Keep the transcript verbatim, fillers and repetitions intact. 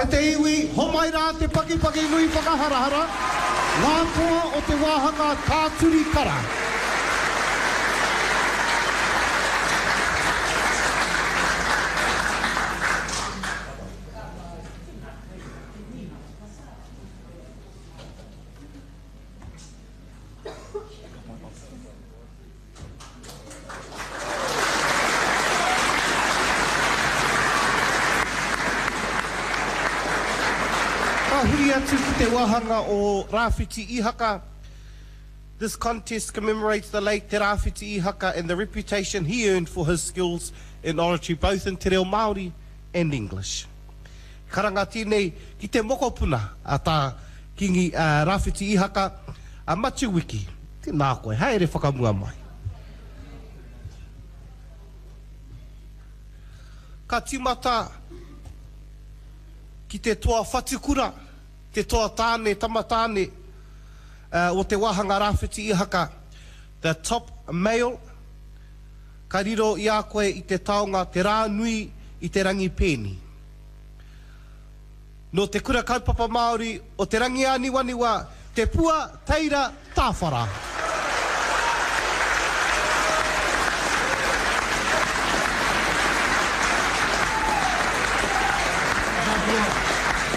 E te iwi, homai rā te pakipaki nui whakaharahara, ngā toa o te wāhanga Tāturi Kara. Ka huri atu ki te wāhanga o Rāwhiti Ihaka. This contest commemorates the late Te Rāwhiti Ihaka and the reputation he earned for his skills in oratory both in te reo Māori and English. Karanga tēnei ki te mokopuna a tā Kingi uh, Rāwhiti Ihaka, a Matiu Wiki. Tēnā koe, haere whakamua mai. Ka timata ki te toa whatukura, te toa tāne, tama tāne, uh, o te wāhanga Rāwhiti Ihaka, the top male, ka riro i a koe i te taonga te rā nui i te rangi pēni. Nō te kura kaupapa Māori o te rangi āniwaniwa, te pua teira tāwhara.